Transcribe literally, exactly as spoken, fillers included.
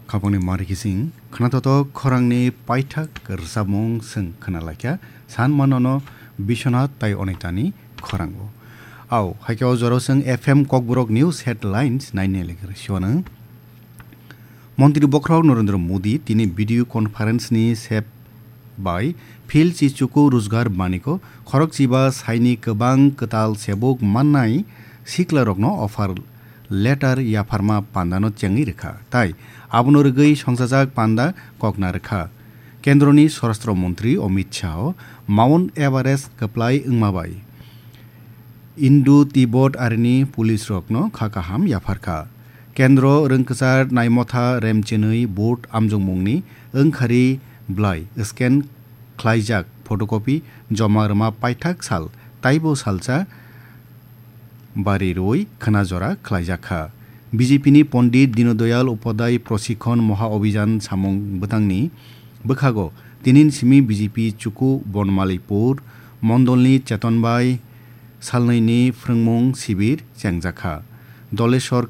Khapangni mari kising khwnathotok khorangni paithak rwchapmung chwng khwnalaikha, san manono Biswanath tai Onitani khorango. Au, haikhe o jorao chwng F M Kokborok News Headlines naini lekha siwano. Montri Bokhorok Narendra Modi tini video conference ni sep bai Phil Chichuku Rujgar Baniko khorokchiba saini kwbang kwtal sebuk mannai siklarokno offer letter yapharma pandano chengwi rwkha, tai abono rwgwi songchajak panda kokna rwkha. Kendroni Swarashtra Montri Amit Shah Mount Everest kwplai wngma bai Indo-Tibot arini police rokno kha kaham yapharkha. Kendro rwngkwchar naimotha remchinwi vote amjokmungni wngkhari blai scan khlaijak photocopy joma rwma paithak sal taibo salsa bari rwi khwna jora khlaijakha. B J P ni Pondit Dinodoyal Upadhyay Prosikhon Moha Obhijan samung bwtangni bwkhago tinin simi B J P Chuku Bonmalipur mondolni Cheton bai salnwini phrwngmung sibir chengjakha. Doleshwar